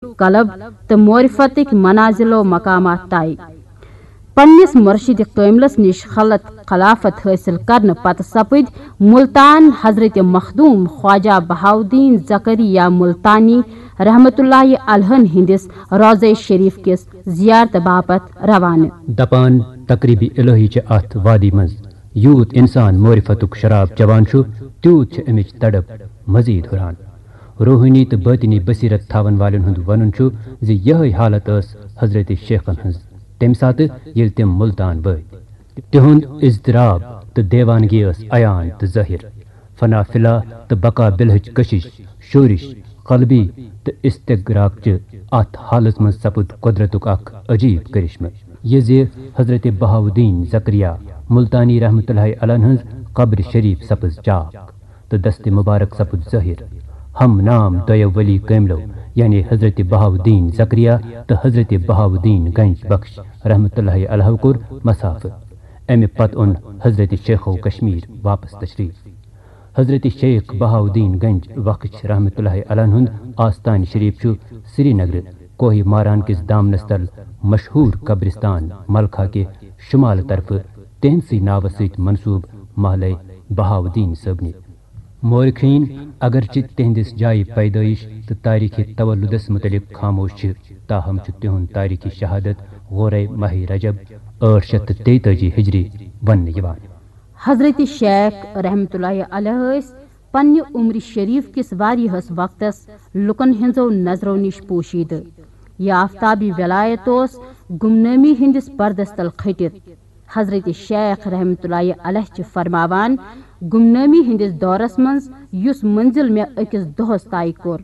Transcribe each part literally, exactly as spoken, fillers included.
قلب تہٕ معرفتٕکۍ منازل و مقامات طے۔ پننِس مرشد کٲملس نِش خلعت خلافت حٲصِل کرنہٕ پتہٕ سپٕدۍ ملتان حضرت مخدوم خواجہ بہاؤالدین زکریا ملتانی رحمتہ اللہ علیہن ہٕنٛدِس روضہ شریف کِس زیارتہٕ باپتھ روانہٕ۔ دپان، تقریب الہی چھِ اتھ وادی منٛز۔ یوٗت انسان معرفتُک شراب چوان چھُ، تیوٗت چھِ امِچ تڑپ مزید ہُران۔ روحٲنی تہٕ باطنی بصیرت تھاون والٮ۪ن ہُنٛد ونُن چھُ زِ یِہے حالت ٲس حضرت شیخن ہٕنٛز تمہِ ساتہٕ، ییٚلہِ تِم ملتان وٲتۍ۔ تِہُنٛد اضطراب تہٕ دیوانگی ٲس عیان تہٕ ظٲہِر۔ فنا فلا تہٕ بقا بالہٕچ کشش، شورش، قلبی تہٕ استغراقچہِ اتھ حالس منٛز سپُد قۄدرتُک اکھ عجیب کرشمہٕ، یہِ زِ حضرت بہاؤالدین زکریا ملتانی رحمتہ اللہ علیہ ہٕنٛز قبر شریف سپٕز چاک تہٕ دست مبارک سپُد ظٲہِر۔ ہم نام دۄیو ولی کٲملو، یعنی حضرت بہاؤالدین زکریا تہٕ حضرت بہاؤالدین گنج بخش رحمتہ اللہ علیہ، کوٚر مسافہٕ۔ امہِ پتہٕ اوٚن حضرت شیخو کشمیر واپس تشریف۔ حضرت شیخ بہاؤالدین گنج بخش رحمتہ اللہ علیہ ہُنٛد آستان شریف چھُ سرینگرٕ کوہ ماران کِس دامنس تل مشہوٗر قبرستان ملخا کہِ شمال طرفہٕ تِہنٛدسٕے ناوس سۭتۍ منسوب محلے بہاؤالدین صٲبنہِ۔ مورخین اگرچہ تِہنٛدِس جایہِ پیدٲیش تہٕ تاریخ تولدس متعلق خاموش چھِ، تاہم چھُ تِہُنٛد تاریخ شہادت غورے ماہ رجب ٲٹھ شیٚتھ تہٕ تیتٲجی ہجری وننہٕ یِوان۔ حضرت شیخ رحمتہ اللہ علیہ ٲسۍ پننہِ عمر شریف کِس واریاہس وقتس لوکن ہٕنٛزو نظرو نِش پوشیدٕ۔ یہِ آفتابی ولایت اوس گمنٲمی ہٕنٛدِس پردس تل کھٔٹِتھ۔ حضرت شیخ رحمتہ اللہ علیہ چھِ فرماوان، گمنٲمی ہٕنٛدِس دورس منٛز یُس منزل مےٚ أکِس دۄہس طے کوٚر،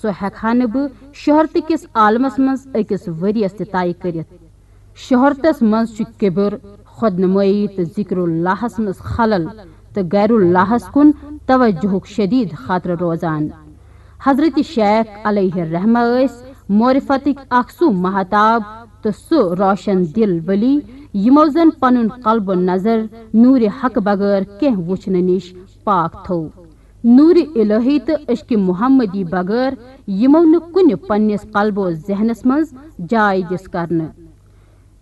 سُہ ہٮ۪کہٕ ہا نہٕ بہٕ شہرتہٕ کِس عالمس منٛز أکِس ؤرِیس تہِ طے کٔرِتھ۔ شہرتس منٛز چھُ کبر، خود نمٲیی تہٕ ذکر اللہس منٛز خلل تہٕ غیر اللہس کُن توجہُک شدید خطرٕ روزان۔ حضرت شیخ علیہ الرحمہ ٲسۍ معرفتٕکۍ اکھ سُہ مہتاب تہٕ سُہ روشن دل ولی، یِمو زن پنُن قلب و نظر نور حق بغٲر کینٛہہ وُچھنہٕ نِش پاک تھوو۔ نور الہی تہٕ عشق محمدی بغٲر یِمو نہٕ کُنہِ پننِس قلب و ذہنس منٛز جاے دِژ کرنہٕ۔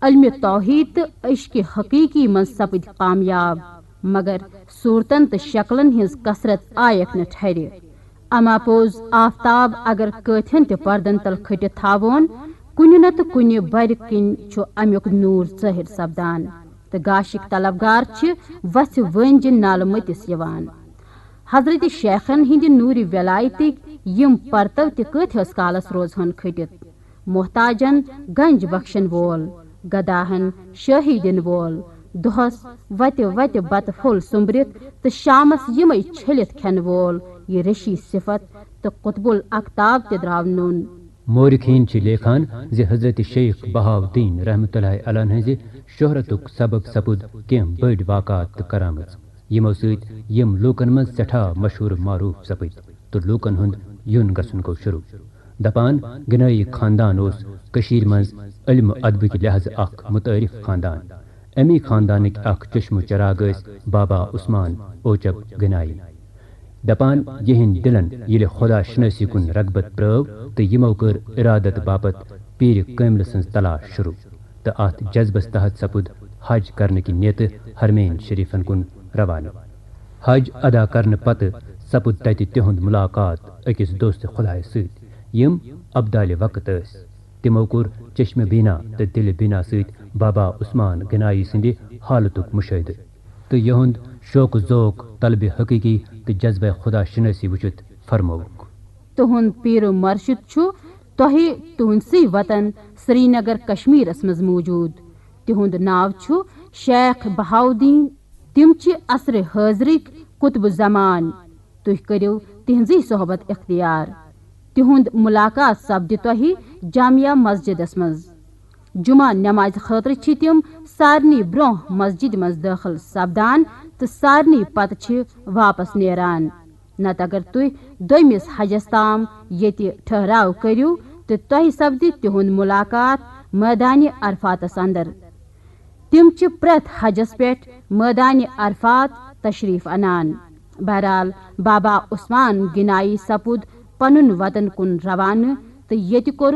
علمِ توحید تہٕ عشقِ حقیقی منٛز سپٕدۍ کامیاب، مگر صورتن تہٕ شکلن ہٕنٛز کثرت آیکھ نہٕ ٹھرِ۔ اما پوٚز، آفتاب اگر کٲتھٮ۪ن تہِ پردن تل کھٔٹِتھ تھاوون، کُنہِ نتہٕ کُنہِ برِ کِنۍ چھُ امیُک نوٗر ظٲہِر سپدان، تہٕ گاشِک طلبگار چھِ وژھِ وٲنجہِ نالہٕ مٔتِس یِوان۔ حضرت شیخن ہٕنٛدِ نوٗرِ ولایتٕکۍ یِم پرتو تہِ کٲتھِس کالس روزہن کھٔٹِتھ۔ محتاجن گنج بخشن وول، گداہن شٲہی دِنہٕ وول، دۄہس وتہِ وتہِ بتہٕ پھوٚل سوٚمبرِتھ تہٕ شامس یِمے چھٔلِتھ کھٮ۪نہٕ وول، یہِ ریشی صفت تہٕ قطب الاقطاب تہِ درٛاو نوٚن۔ مورخین چھِ لیکھان زِ حضرت شیخ بہاؤالدین رحمتہ اللہ علیہ ہٕنٛزِ شہرتُک سبب سپُد کینٛہہ بٔڑۍ واقعات تہٕ کرامژ، یِمو سۭتۍ یِم لوٗکن منٛز سٮ۪ٹھاہ مشہوٗر معروٗف سپٕدۍ تہٕ لوٗکن ہُنٛد یُن گژھُن گوٚو شروٗع۔ دپان، گنایی خاندان اوس کٔشیٖرِ منٛز علم و ادبٕکۍ لحاظہٕ اکھ متعارف خاندان۔ امی خاندانٕکۍ اکھ چشمہٕ چراغ ٲسۍ بابا عثمان اوچب گنایی۔ دپان، یِہنٛدۍ دلن ییٚلہِ خدا شنٲسی کُن رغبت پرٲو تہٕ یِمو کٔر ارادت باپتھ پیٖرِ کٲملہٕ سٕنٛز تلاش شروٗع، تہٕ اتھ جذبس تحت سپُد حج کرنہٕ کہِ نیتہٕ حرمین شریفن کُن روانہٕ۔ حج ادا کرنہٕ پتہٕ سپُد تتہِ تِہُنٛد ملاقات أکِس دوست خدایس سۭتۍ، یِم ابدالِ وقت ٲسۍ۔ تِمو کوٚر چشمِ بینا تہٕ دلِ بینا سۭتۍ بابا عثمان گنایی سٕنٛدِ حالتُک مشاہدٕ تہٕ یِہُنٛد شوق و ذوق، طلبِ حقیقی تہٕ جذبہ خدا شناسی وچھتھ فرمووُکھ۔ تُہُنٛد پیٖر مرشد چھُ تۄہہِ تُہُنٛدسٕے وطن سرینگر کشمیرس منٛز موجود۔ تِہُنٛد ناو چھُ شیخ بہاؤالدین۔ تِم چھِ عصرِ حٲضرٕکۍ قطب زمان۔ تُہۍ کٔرِو تِہنٛزٕے صحبت اختیار۔ تِہُنٛد ملاقات سپدِ تۄہہِ جامع مسجدس منٛز۔ جمعہ نمازِ خٲطرٕ چھِ تِم سارنٕے برٛونٛہہ مسجدِ منٛز دٲخل سپدان تہٕ سارنٕے پتہٕ چھِ واپس نیران۔ نتہٕ اگر تُہۍ دوٚیمِس حجس تام ییٚتہِ ٹھہراو کٔرِو تہٕ تۄہہِ سپدِ تِہُنٛد ملاقات مٲدانِ عرفاتس اندر۔ تِم چھِ پرٛٮ۪تھ حجس پٮ۪ٹھ مٲدانِ عرفات تشریف انان۔ بہرحال، بابا عثمان گنایی سپُد پنُن وطن کُن روانہٕ تہٕ ییٚتہِ کوٚرُکھ